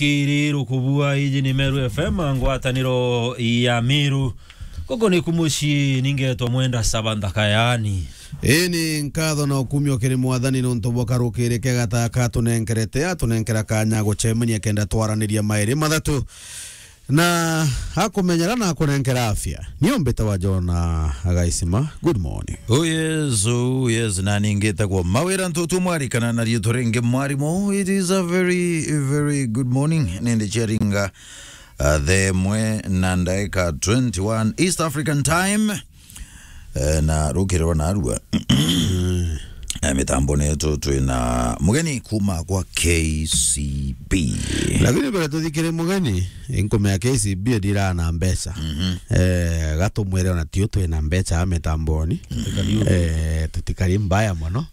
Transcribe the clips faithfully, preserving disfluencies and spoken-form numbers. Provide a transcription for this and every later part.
Kiri rukubua, iji ni Meru F M, ngwataniro ya Meru. Guku ni ku mucii, ningetwa Mwenda Saba Nthaka, yaani. Ii ni nkatho na ukumio kiri Mwathani nuntu bwa karukiri kega ta aka atunenkerete, atunenkera kanya gucemania kenda twaraniria mairi mathatu. Na akumenyera na akunenkera afya. Nio mbitawa Jona Agaisima. Good morning. Oh yes, oh yes, na ningitagwo Mawira Ntutu Mwarikana na riitwa ringi mwarimu. It is a very, very good morning. Nindi ciaringa, uh, the mwe na ndaika twenty-one East African Time. Eh, na rukiri rwa narua. Eh, mitamboni yetu twina mugeni kuma kwa K C B. Lakini mbere tuthikire mugeni, inkume ya K C B ndira na mbeca. Mhm. Eh, gatumwire ona tio twina mbeca a mitamboni. Tutikari uguo. Eh, tutikari mbaya mono.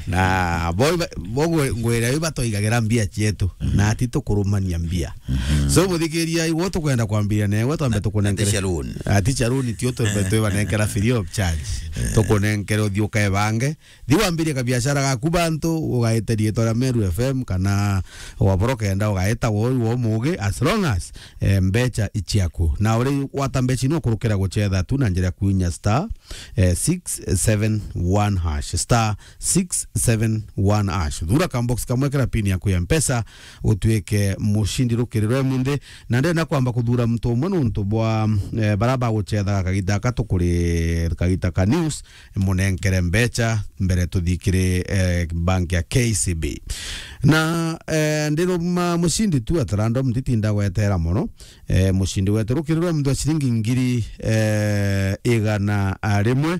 Na bo iba-, bo ngwe-, ngwira iba twaigagira mbia cietu, mhm, na ati tukurumania mbia. Mhm. So, muthikiria, igwe tukwenda kwambiria newe, twambe tukunenkere. Ati cia loan. Ati cia loan, tio twambe twibanenkera free of charge. Eh. Tukunenkere uthii ukebange. Thi wambirie kabiashara gaku bantu, ugaite riitwa ria Meru F M, kana waboro kenda ugaita woi wo mugi, as long as, eh, mbeca iciaku. Na uri gwata mbeca ino kurukira gucetha tu na njira ya kuinya star, eh, six seven one hash, star six seven one hash. Thura ka box kamwe kira pin yaku ya Mpesa, utuike mucindi rukiri rwa munthi. Na ndenda kwamba kuthura muntu umwe nuntu bwa, eh, bara bagucethaga kagita gaka tukuri kagita ka news, munenkere mbeca mbere tuthikire, eh, bank ya K C B. Na, eh, ndiruma mucindi tu at random, nditinda gwetera mono. Eh, mucindi wetu rukiri rwa muntu wa ciringi ngiri, eh, igana rimwe.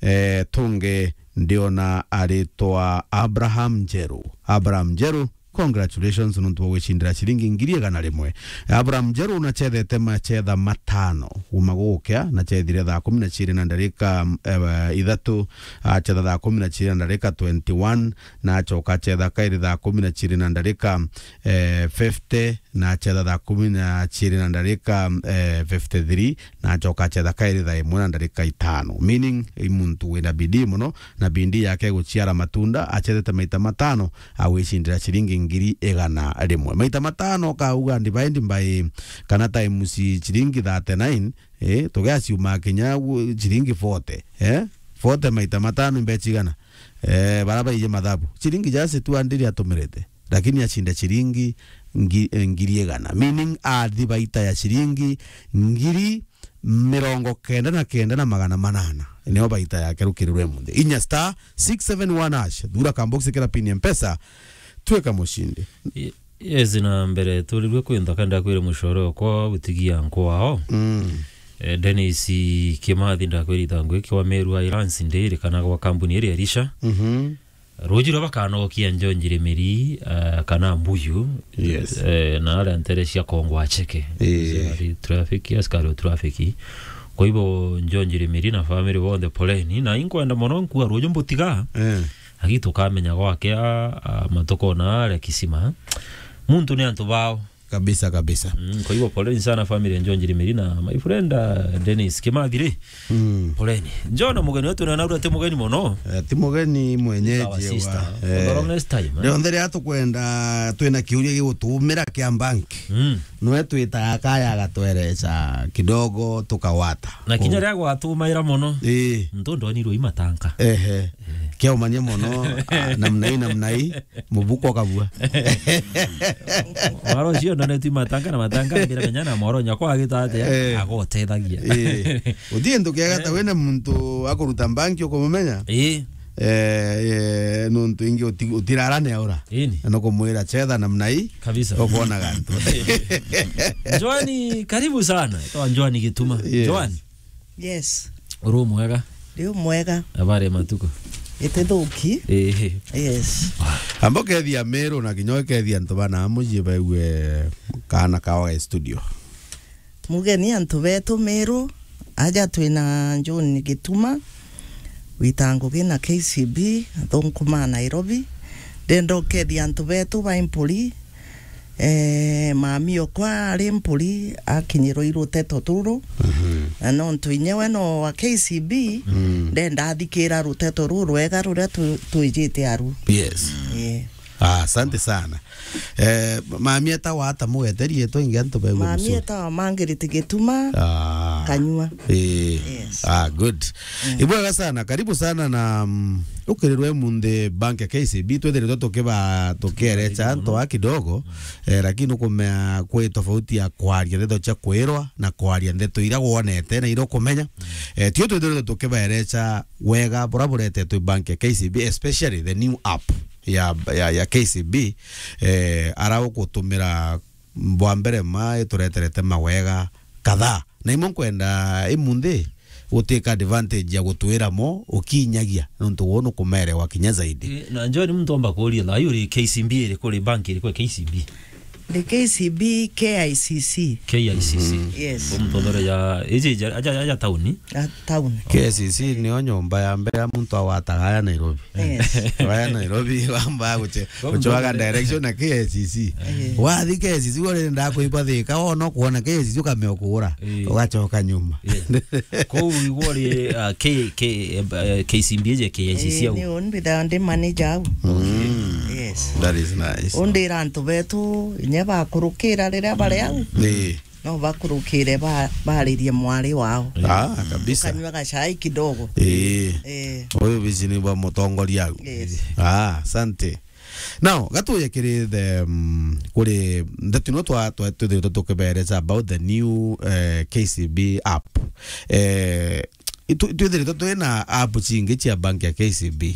Eh, tungi ndiona aritwa Abraham Njeru. Abraham Njeru, congratulations nontu bwa gwicindira ciringi ngiri igana rimwe. Abraham Njeru unachethete machetha matano. Uma gukia, nachethire thaa kumi na ciiri na ndarika, eh, ithatu, achetha thaa kumi na ciiri na ndarika twenty-one, na acoka achetha kairi thaa kumi na ciiri na ndarika, eh, fifty, na achetha thaa kumi na ciiri na ndarika, eh, fifty-three, na acoka achetha kairi thaa imwe na ndarika itano. Meaning, i muntu wina bidii mono, na bidii yake iguciara matunda, achethete maita matano, agwicindira ciringi ngiri igana rimwe. Maita matano, kauga divide by, kana times ciringi thirty-nine, eh, tugiaciuma kinya gu-, ciringi forty, eh? Forty maita matano mbeca igana? Eh, bara baije mathabu. Ciringi just two hundred atumirite. Lakini acinda ciringi ngi-, eh, ngiri igana. Meaning, athi baita ya ciringi ngiri mirongo kenda na kenda na magana manana. Nio baita yake rukiri rwa munthi. Inya star six seven one hash. Thura ka box kira pin ya Mpesa. Twika mucindi. Ye-, yes, na mbere turirwe kwintha kenda kwire mucore okwa utigia nkwao. Mm. Eh, Dennis Kimathi ndakwirita ngwiki wa Meru Islands ndiri kana gwa kambuni iri Elisha. Mhm. Ruji rwa bakanokia Njonji Rimiri, eh, kana Mbuyu, yes, eh, na aria ntere cia Kongwa Cheke. Eh. Askari traffic, askari o traffic. Kwa hivyo, Njonji Rimiri na family bonthe poleni. Na inkwenda mono nkua ruju mbutiga. Eh. Agi tukamenya gwake a, a, matuko na aria kisima. Muntu ni antu bao. Kabisa, kabisa. Mm, kwa hivyo poleni sana family ya Njonji Rimiri na my friend, uh, Dennis Kimathi ri. Mm. Poleni. Njona mugeni wetu na naura ti mugeni mono. Eh, ti mugeni mwenyeji. Our sister. Eh. For the longest time, eh? Rionthe riria tukwenda, twina kiuria gigutumira kia bank. Mm. Nwe twitaga kaya agatwereca kidogo tukawata. Na kinya riria gwatumaira mono. Ii. Ntu ndonirwe imatanka. Ehe. Kiaumania mono, ah, namna hii, namna hii. Mubuko kabua. Mwaro cio ndone tu matanga na matanga mbira menya na mwaro nyakwa agita atia, eh, agotethagia. Eh. Uthii ntu kiega ta wena muntu akuruta banki ukumumenya? Eh. Eh, eh, nuntu ingi uti-, utirara ni aura. Ini. Na nukumwira chetha namna hii. Kabisa. Ukuona gantu. Joani, karibu sana. Toa Joani Gituma. Yes. Joani. Yes. Uri mwega? Ndi mwega. Habari ya matuko? Itithuki. Ehe. Yes. Amba ukethia Meru na kinya ukethia antu bana mucii baigue kana kawa ga studio. Mugeni antu betu Meru, aja twina John Gituma, wita ngugi na K C B, athunkuma Nairobi. Ndenda ukethia antu betu ba Impuri, Eh, mami okwa ari Mpuri akinyirwo i ruteto ruru. Mhm. Na nontu inyewe no wa K C B, mm, ndenda athikira ruteto ruru rwega ruria tu-, twijite aru. Yes. Eh. Ah, asante sana. Eh, mami eta wata mugete rietwa ingi antu begwe. Mami eta wa Mangiriti Gituma. Ah. Kanyua. Eh. Yes. Ah, good. Mm. Ibwega sana. Karibu sana na, mm, ukirirwe munthi bank ya K C B. Twithiritwe tukiba, tukierecha antu a kidogo. Eh, lakini ukumea kwi tofauti ya kwaria ndeto cia kwirwa na kwaria ndeto iria wonete na iria ukumenya. Eh, tio twithiritwe tukibaerecha wega bura buretetwe bank ya K C B, especially the new app ya, ya, ya K C B, eh, ara ugutumira bwa mbere ma itureterete mawega kadhaa. Na imwe nkwenda imunthi gutwika advantage ya gutwira mo ukinyagia, nontu wuu nukumerewa kinya zaidi. Eh, na John, muntu omba kuuria, thaa ii uri K C B iriku, uri bank iriku ya K C B? The K C B K I C C. K I C C. Mhm. Yes. Kwa muthothore ya, iji ja, aja, aja tauni? A town. K I C C nio nyomba ya mbere ya muntu agwataga aya Nairobi. Yes. Aya Nairobi, wamba guche-, kwa guchwaga muthothore direction na K I C C. Yes. Wathi K I C C, urenda kuigwa thika, wona kuona K I C C ukamea ukura, eh, ugachoka nyuma. Yes. Kou igwo ri, ah, K, K, eh, K C B iji K I C C. Eh, au? Ni uni mbithaga ndi manager au. Mm. Yes. That is nice. Undira antu betu, inya bakurukira riria bari au. Eh. No bakurukire ba-, baririe mwari wao. Ah, kabisa. Ukanyua gachai kidogo. Eh. Eh. Uyu bici ni bwa mutongoria au. Yes. Ah, asante. Now, gatuye kiri the, mm, kuri ndeto ino twa, twa, twithiritwe tukibeereza about the new, eh, K C B app. Eh, itu-, twithiritwe twina app cingi cia bank ya K C B.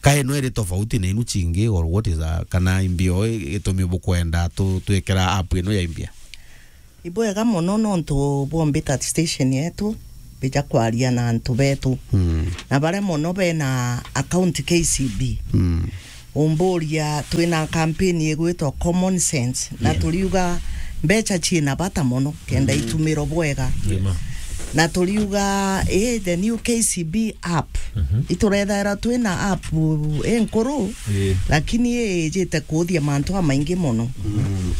Kae no iri tofauti na inu cingi, or what is a, kana imbio i-, itumi bukwenda tu-, twikira app ino ya imbia? Ibwega mono nontu bwombita station yetu, bija kwaria na antu betu. Mm. Na baria mono bena account K C B. Mm. Umburia, twina campaign igwitwa Common Sense, na, yeah, turiuga mbecha ciina bata mono kenda, mm, itumiro bwega. Yeah, ma. Na turiuga, eh, the new K C B app. Mhm. Iturethaira twina app inkuru, yeah, lakini ijite kuuthia mantu amaingi mono. Mm.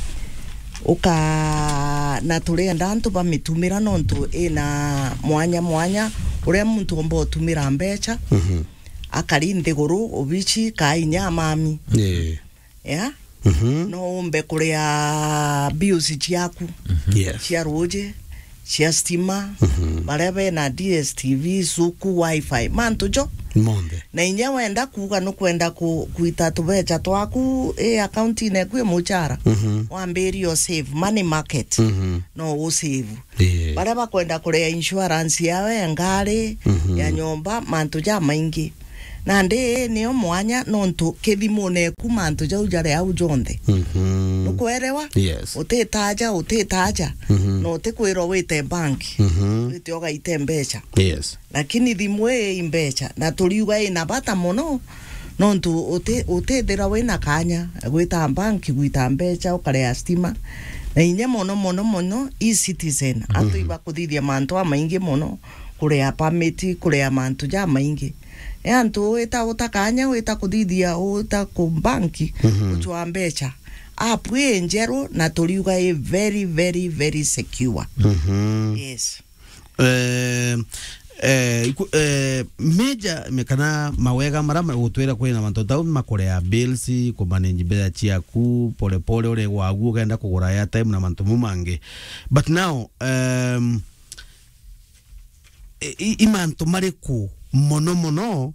Uka-, na turienda antu bamitumira nontu ina mwanya mwanya uria muntu omba utumira mbecha, mhm, akari nthiguru, obici, kaa inya amami. Yeah. Yeah? Mhm. No umbe kuria bills ciaku, mhm, yes, cia ruuji, cia stima, mhm, baria bena D S T V, suku, wifi, mantu jo. Monthe. Na inya wenda kuuga nukwenda ku-, kuita tubecha twaku i account-ini eku i muchara, mhm, wambirie o save, money market, mhm, no u save. Ii. Baria bakwenda kuria insurance yao ya ngari, mhm, ya nyomba, mantu jamaingi. Nandi ii nio mwanya, nontu kithimune eku mantu jau jari au jonthe. Mhm. Nukwerewa? Yes. Utitaja, utitaja, mhm, na utikwirwa wite bank, mhm, wite ugaite mbecha. Yes. Lakini thimu ii i mbecha, na turiuga ina bata mono, nontu uti-, utithira wina kanya gwita bank gwita mbecha, ukaria stima, na inya mono, mono, mono, e-citizen. Antu, mhm, ibakuthithia mantu amaingi mono, kuria permit, kuria mantu jamaingi. E antu wita uta kanya, wita kuthithia, uta ku bank, mhm, uchwa mbecha. App ii njeru, na turiuga i very, very, very secure. Mhm. Yes. Eh, eh, iku-, eh, major, me-, kana mawega mara ma-, gutwira kwina mantu tau makurea bills, kumanage mbeca ciaku, pole pole uri gwagu, ukenda kugura airtime na mantu mau mangi. But now, um, i, i, i mantu mariku mono mono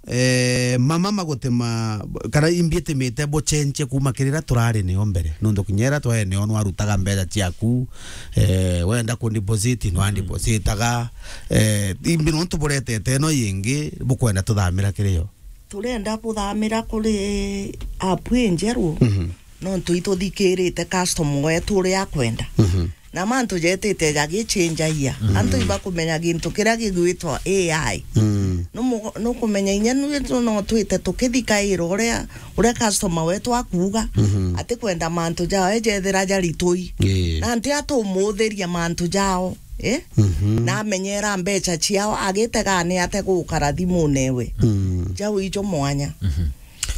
eh, mama magutema, kana imbi itimite bucenjie kuma kiri ira turari nio mbere? Nontu kinya ira twae nio nwarutaga mbeca ciaku, eh, wenda ku deposit, nwa depositaga, eh, imbi nontu buretete ino yingi bukwenda tuthamira kiri yo? Turenda buthamira kuri app injeru, mhm, nontu ituthikirite customer wetu uria akwenda. Mhm. Na mantu jetite jagichenjagia. Mm. Antu ibakumenya gintu kiria gigwitwa A I. Mm. Numu-, nukumenya inya nwitu no twite tukithikaira uria, uria customer wetu akuuga, mhm, atikwenda mantu jawe jethira jaritui. Ii. Na nti atumuuthiria mantu jao, eh? Mhm. Na amenyera mbecha ciao, agitega ni ate gukara thimune ewe. Mm. Jau ijo mwanya. Mhm.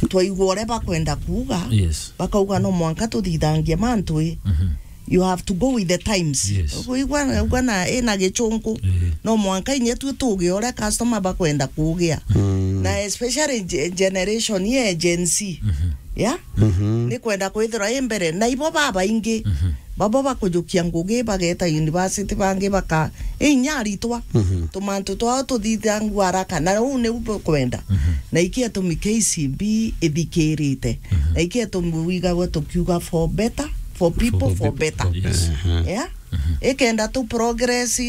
Twaigua uria bakwenda kuuga, yes, bakauga no mwanka tuthithangie mantu i. Mhm. You have to go with the times. Yes. Kuigua, uga na, ina gichunku. Eh. No mwanka inya tu tuge uria customer bakwenda kugia. Mm. Na especially ge-, generation ye Gen Z. Mhm. Ya? Mhm. Ni kwenda kwithirwa i mbere. Na ibo babaingi, mhm, babo bakujukia ngugi, bageta university, bangi baka, i inya aritwa. Mhm. Tumantu twao tuthithangua haraka. Na uu niu bukwenda. Mhm. Na iki atumi K C B ithikirite. Mhm. Na iki atumi wigagwa tukiuga for better, for people, for better. Yes. Mhm. Ya? Mhm. Ikenda tu progress,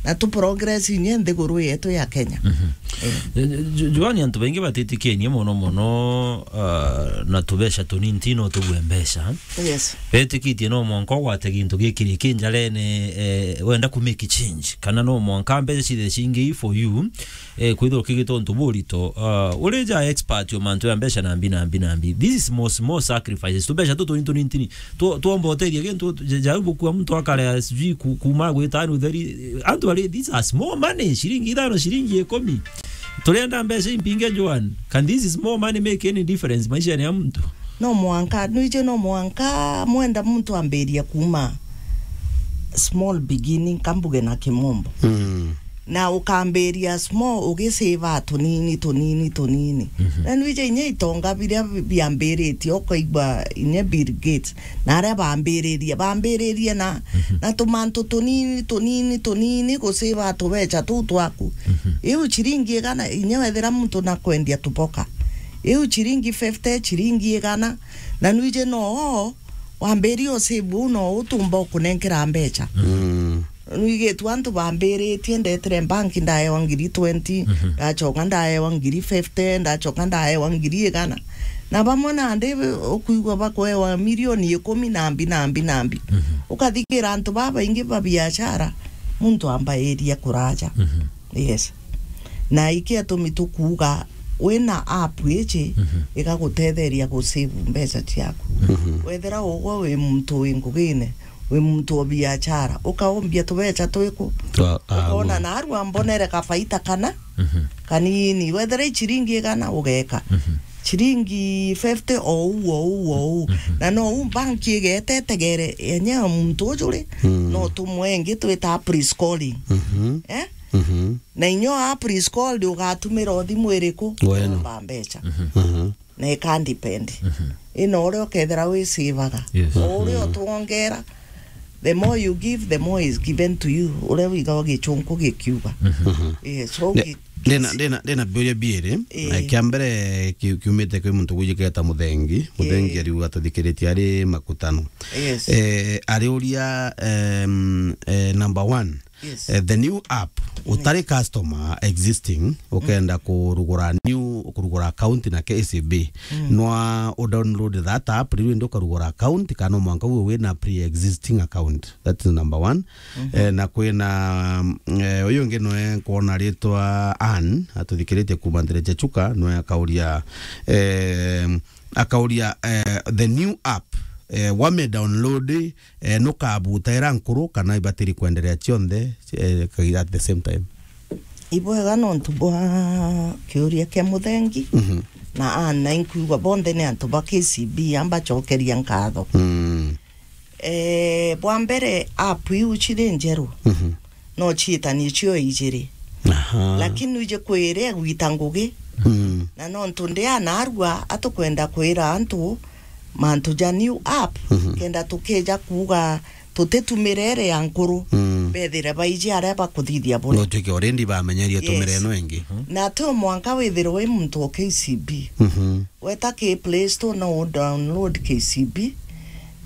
na tu progress inya nthiguru yetu ya Kenya. Mhm. Eh. Jo-, Jo-, Joan, antu baingi batitikenie mono mono, ah, na tubeca tunini ti no tubue mbeca. Yes. Betikitie no mwanka ugwate gintu gikiri ki njarene, eh, wenda ku make change. Kana no mwanka mbeca cithe cingi for you, eh, kwithirwa ukigita untu burito. Ah, uri ja expert o mantu ya mbeca na mbi na mbi na mbi. This is small, small sacrifices. Tubeca tu tunini tunini tini. Tu-, twomba uteithia gintu, ja-, jau bukua muntu akarea sijui ku-, kuma gwita ni utheri. Antu ari, these are small money, shilingi ithano, shilingi ikumi. Turienda mbeca impinge, Joan. Can this small money make any difference maishani ya muntu? No mwanka, nwije no mwanka mwenda muntu ambiria kuma small beginning, kambuge na kimombo. Mm. Na ukambiria small, ugisave tunini, tunini, tunini. Mhm. Na nwije inya itonga biria bi-, biambiritie, ukaigua inya Bill Gates, na aria bambiririe, bambiririe na, mhm, na tumantu tunini, tunini, tunini, gusave tubeca tuu twaku. Mhm. Iu chiringi igana, inya wethira muntu na kwendia tuboka. Iu chiringi fifty, chiringi igana, na nwije no wambirie usave uu no utumba ukunenkera mbeca. Mm. Nwigitue antu bambiritie, ndetire banki ndaewa ngiri twenty, mhm, ndachoka ndaewa ngiri fifty, ndachoka ndaewa ngiri igana. Na bamwe nandi ukuigua bakwewa milioni ikumi na mbi, na mbi, na mbi. Mhm. Ukathigira antu babaingi ba biashara, muntu ambairia kuraja. Mhm. Yes. Na iki atumi tukuuga, wina app iji, mhm, igagutetheria gusave mbeca ciaku. Mhm. Wethira ugwe wi muntu wi ngugine, wi muntu o biashara, ukaumbia tubeca twiku. Twa-, ah, ukona gu- narua mbonere kabaita kana, mhm, kanini. Wethira i chiringi igana, ugeka. Mhm. Chiringi fifty o uu, o uu, o uu. Mhm. Na no uu banki igete itegere, yenye muntu uju ri, mm, no tumwe ingi twita pre-scoring. Mhm. Eh? Mhm. Na inya app is called ugatumira o thimu iriku, weno, kuomba mbeca. Mhm. Mhm. Na ika depend. Mhm. Ino uria ukethira wisavaga. Yes. O uria, mhm, utwongera, the more you give, the more is given to you. Uria wigawa gichunku gikiuga. Mhm. Mhm. Yes, so ne-, gi-, ndina, ndina, ndina biuria biiri. Ii. Na kia mbere ki-, kiumite kwi muntu gwijiketa Muthengi. Muthengi, ii, ariuga tuthikiritie ari makutano. Yes. Eh, ariuria, em, eh, number one. Yes. Eh, the new app, utari customer existing, ukenda, mm, kurugura new, kurugura account na K C B, mm, nwa u download that app, riu indi ukarugura account, kana mwanka uwe wina pre-existing account. That is number one. Mhm. Eh, na kwina, mm, eh, uyu ungi nwe nkwona ritwa Ann, atuthikiritie kuma Ndereche Chuka, nwe akauria, eh, akauria, eh, the new app, eh, wame download, eh, nukabuta ira nkuru kana ibatiri kwenderea cionthe, eh, at the same time? Ibwega nontu bwa kiuria kia Muthengi, mhm, na Ann, na inkwigua bonthe ni antu ba K C B, ambacokeria nkatho. Mm. Eh, bwa mbere, app iu ciri njeru, mhm, no ciitanie cio ijiri. Aha. Lakini uje kwire gwita ngugi. Mm. Na nontu ndi anarua, atukwenda kwira antu mantu ja new app, mhm, kenda tukija kuuga tutitumire iri ya nkuru, mm, bethire baiji aria bakuthithia bure. No tuike already bamenyeria tumire, yes, ino ingi. Na ti o mwanka withirwe wi muntu o K C B. Mhm. Weta ki Play Store, no u download K C B,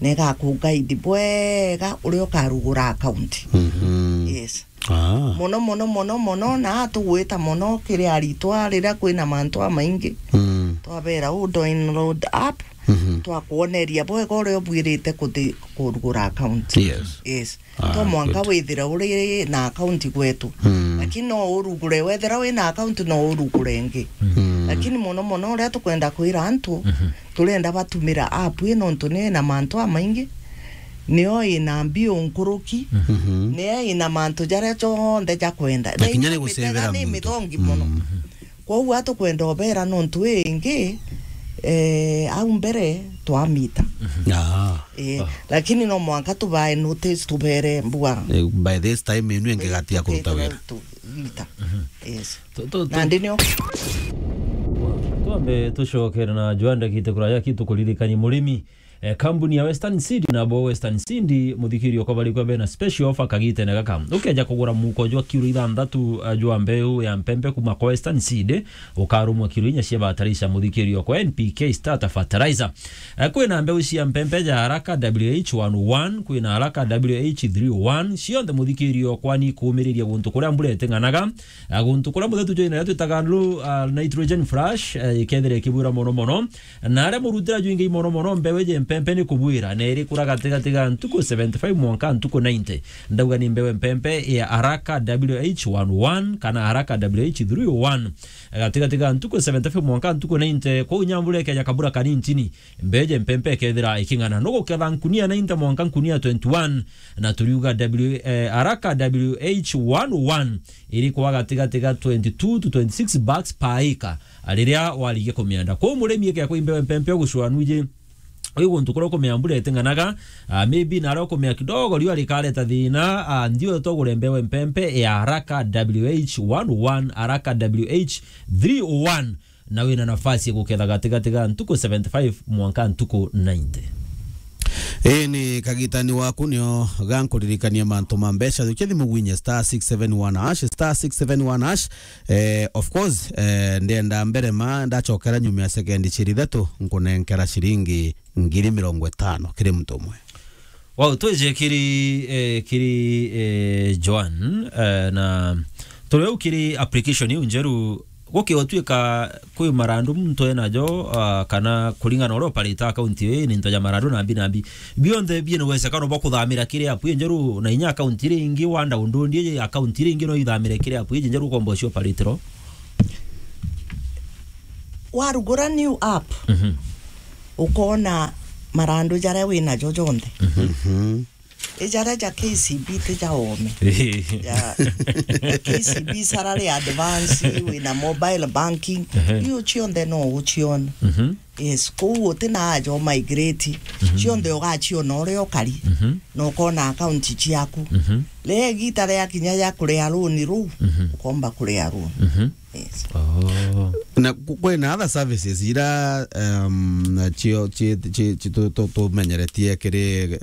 na igaku guide bwega uria ukarugura account. Mhm. Yes. Ah. Mono, mono, mono, mono, na tugwita mono kiri aritwa riria kwina mantu amaingi. Mm. Twabera u download app, mhm, twakwoneria bwega uria ubwirite kuthi-, kurugura account. Yes. Yes. Ah, to mwanka good. Withira uri na account gwetu. Mm. Lakini no urugure, wethira wina account no urugure ingi. Mm. Lakini mono mono uria tukwenda kwira antu, mhm, turenda batumira app ii nontu ni na mantu amaingi, nio ina mbio nkuruki, mhm, nio ina mantu jaria jonthe jakwenda. Na kinya ni gucevera muntu. Ni mithongi mono. Mm. Kwou atukwenda ubera nontu ii ingi, eh, au mbere twamita. Mhm. Ah. Eh, ah, lakini no mwanka tubae notice, tubere mbua. Eh, by this time inu ingi gatia kuruta wira. Tuita. Mhm. Yes. Tu-, tu-, tu- Nandi nio. Wa-, Twambe tucokere na Joan ndagite kuraya ki tukuririkanie murimi. Eh, kambuni ya Western Seed na bo Western Seed, muthikiri okwa bari kwa bena special offer kagitene gaka. Ukeja kugura muko jwa kiro ithanthatu, eh, jwa mbeu ya mpempe kuma kwa Western Seed, ukarumwa kiro inya cia bataraitha, muthikiri okwa N P K starter fertilizer. Eh, kwina mbeu cia mpempe ja Haraka W H one oh one, kwina Haraka W H three oh one, cionthe muthikiri okwa ni kumiriria guntu kuria mbura iting'anaga, eh, guntu kuria muthetu jwina twitaga low, eh, nitrogen flash, eh, ikethira ikibwira mono mono. Na aria murutira jwingi mono mono, mbeu iji mpempe ni kubwira, na irikura gatigati ga ntuku seventy-five mwanka ntuku ninety. Ndauga ni mbeu mpempe ya Haraka W H one oh one kana Haraka W H three oh one. Gatigati ga ntuku seventy-five mwanka ntuku ninety, kwou nyambura ikeja kabura kanintini, mbeu iji mpempe ikethira iking'ana. Nuguketha nkunia ninety mwanka nkunia twenty-one, na turiuga W, eh, Haraka W H one oh one iri kwa gatigati ga twenty-two to twenty-six bags per acre. Riria warigia kumienda. Kwou murimi ikea kwi mbeu mpempe ugucwa nwiji, wi guntu kuria ukumea mbura iting'anaga, ah, maybe naria ukumea kidogo riua rikareta thina, ah, ndio tugure mbeu mpempe ya Haraka W H one oh one, Haraka W H three oh one, na wina nafasi ya guketha gatigati ga ntuku seventy-five mwanka ntuku ninety. Ii ni kagitani waku nio gankuririkania mantu ma mbeca. Jukia thimu gwinye star six seven one hash, star six seven one hash. Eh, of course, eh, ndenda mbere ma ndacokera nyuma ya sekendi ciri ithatu, nkunenkera ciringi ngiri mirongo itano kiri muntu umwe. Wow, twije kiri, eh, kiri, eh, Joan, eh, na turi au kiri application iu njeru, gukiotwika kwi marandu muntu enajo, ah, kana kuringana uria operate account ii, ni into ja marandu nambi nambi. Bionthe biena uwesekano bwa kuthamira kiri app ii njeru, na inya account iria ingi wanda undu ndi account iria ingi no ithamire kiri app ii njeru ukomba ucio operate ro. Warugura new app, Mhm. ukona marandu jaria winajo jonthe. Mhm. Mhm. I jaria ja K C B ti ja oome. Ja K C B salary advance, wina mobile banking, Ehe. Iu cionthe no uciona. Mhm. Yes, kou uti na aja o migrate. Mhm. Cionthe ugaciona uria ukari. Mhm. Na ukona account ciaku. Mhm. Ria igita ria kinya ya kuria loan ruu, Mhm. ukomba kuria loan. Mhm. Yes. Oh. Na ku-, kwina other services ira, um, cio, ci, ci, ci, tu, tu, tumenyeretie kiri,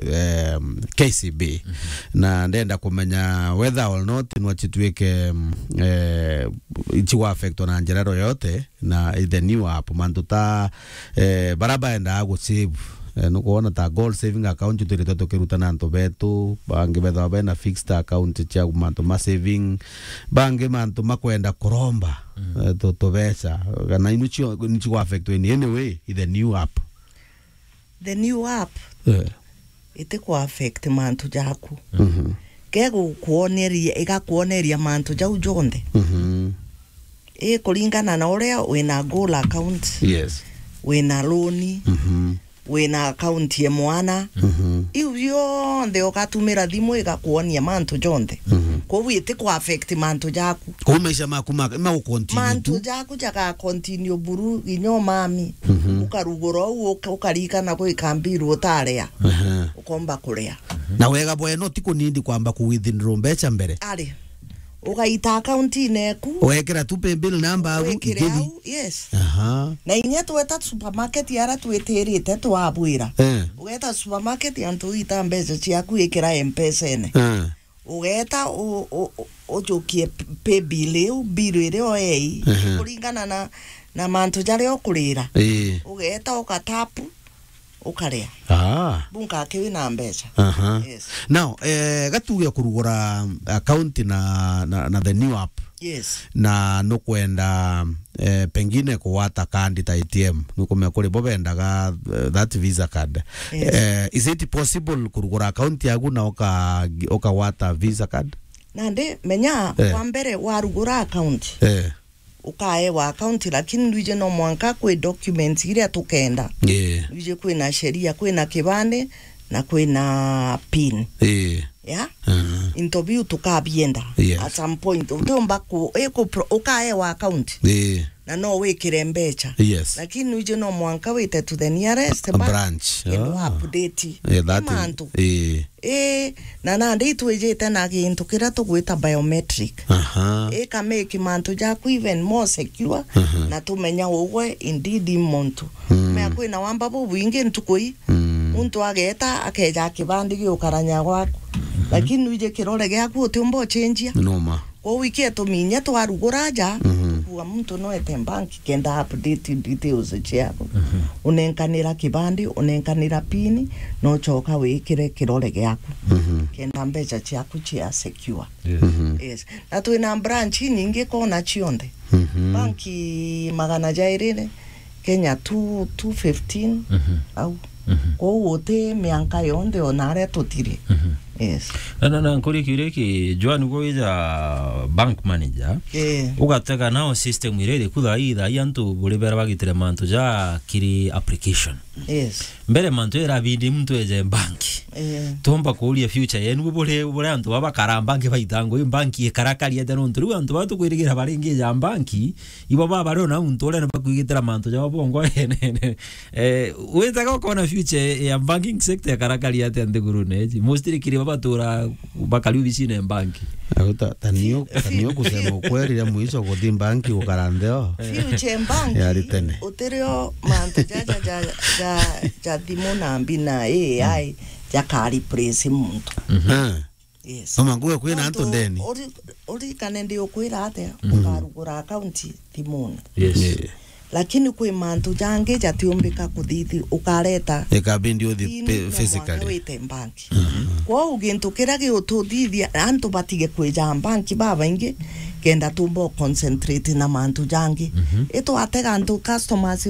um, K C B. Mhm. Na ndenda kumenya whether or not nwa cituike, um, eh, ici wa affectwa na njira yoyote na the new app, mantu ta, eh, bara baendaa gu save. Eh, nukwona ta gold saving account twirite tukirutana antu betu, bangi bethagwa bena fixed account cia mantu ma saving, bangi mantu makwenda kuromba, Mm. eh, tu-, tubeca. Kana inu cio, ni cio affectwa in any way, i the new app. The new app Eh. iti ku affect mantu jaku. Mhm. Ke gukuoneria, igakuoneria mantu jau jonthe. Mhm. I kuringana na uria wina goal account, Yes. wina loan, Mhm. wina account ya mwana. Mhm. Iu bionthe ugatumira thimu igakuonia mantu jonthe. Mhm. Koguo iti ku affect mantu jaku. Kou maisha maku ma, ma continue Mantu tu. jaku jaga continue buru inya umami. Mhm. Ukarugura uu, uka-, ukarikana gwika mbiru utaria. Aha. Ukomba kuria. Na wega bweno ti kunindi kwamba ku withdraw mbeca mbere. Ari. Ugaita account-ini eku. Wekira tu pay bill number au Wikire ikiri. au, yes. Aha. Na inya tweta supermarket ara twitirite twabwira. Eh. Ugeta supermarket antu ita mbeca ciaku ikira M-Pesa-ini. Eh. Ugeta u-, u-, u-, ujukie p-, pay bill iu, bill iria oei, Ehe. kuringana na, na mantu jaria ukurira. Ii. Ugeta ukatapu, ukaria. Ah. Bunka aki wina mbeca. Aha. Yes. Now, eh, gatuge kurugura account na, na, na the new app. Yes. Na nukwenda, eh, pengine kugwata kandi ta A T M. Nukumenya kuri bo bendaga, eh, that Visa card. Yes. Eh, is it possible kurugura account yaku na uka-, ukagwata Visa card? Nandi, menya, Eh. kwa mbere warugura account. Eh. Ukaewa account, lakini ndwije no mwanka kwi documents iria tukenda. Ii. Ndwije kwina sheria, kwina kibande, na kwina pin. Ii. ya, mm, into biu tukabienda. Yes. At some point utiumba ku, iku pro-, ukaewa account, eh, na no wikire mbecha. Yes. Lakini nuiji no mwanka wite to the nearest a ba-, branch, kenda, ah, update, eh, that is, mantu, eh. Ii, na nandi itwijite na gintu kiria tugwita biometric. Aha. Ii, kameki mantu jaku even more secure, aha, na tumenya ugwe indeed i muntu. Mm. Mea kwina wamba bubwingi ntuku ii. Mm. Muntu ageeta, akeja kibandi giukaranya gwaku. Mhm. Lakini nuiji kirore giaku utiumba ucenjia. Noma. Kwou ikie tuminye twarugura aja, mhm, tukuga muntu no ete bank kenda update details ciaku. Mhm. Unenkanira kibandi, unenkanira pin, no coka wikire kirore giaku. Mhm. Kenda mbecha ciaku cia secure. Yes. Mhm. Yes. Na twina branch nyingi kona cionthe. Mhm. Banki magana jairi Kenya two, two fifteen, mhm, au. Mhm. Kwou uti mianka yonthe ona aria tutiri. Mhm. Yes. Na, na, na nkuri kiuria ki, Joan, gwe wija bank manager, eh, ugatega nao system iria iriku thaa ii, thaa ii antu buri bera bagitire mantu ja kiri application. Yes. Mbere mantu irabindi muntu eje bank. Eh. Tumba kuuria future yenu buri, buri antu baba kara bank baitangwa, i bank ikarakari atia nontu riu antu baba tukwirigira baringi ja bank, ibo baba bari ona untu uria ni bakwigitira mantu jao bongo. Eh, witaga ukona future ya banking sector ikarakari atia nthigurune iji? Mostly kiri baba batura bakari obicine ya bank. Au ta, ta nio, ta nio kusema ukweli, ria mwisho kuthi bank gukara ntheo. Future bank, yari tene. Utirio mantu jaja ja, ja, ja thimu na mbi na A I, mm, jaka replace muntu. Mhm. Ah. Yes. Mama, nguge kwina antu ndeni. Uri-, urikane ndi ukwira atia, mm, ukarugura account thimune. Yes. Yeah. Lakini kwi mantu jangi jatiumbika kuthithi, ukareta ikabindi uthi pin pe-, no mwanka physically wite bank. Mhm. Kwou gintu kiria giututhithia antu batige kwija bank babaingi, kenda tumba concentrate na mantu jangi. Mhm. Itwatega antu customers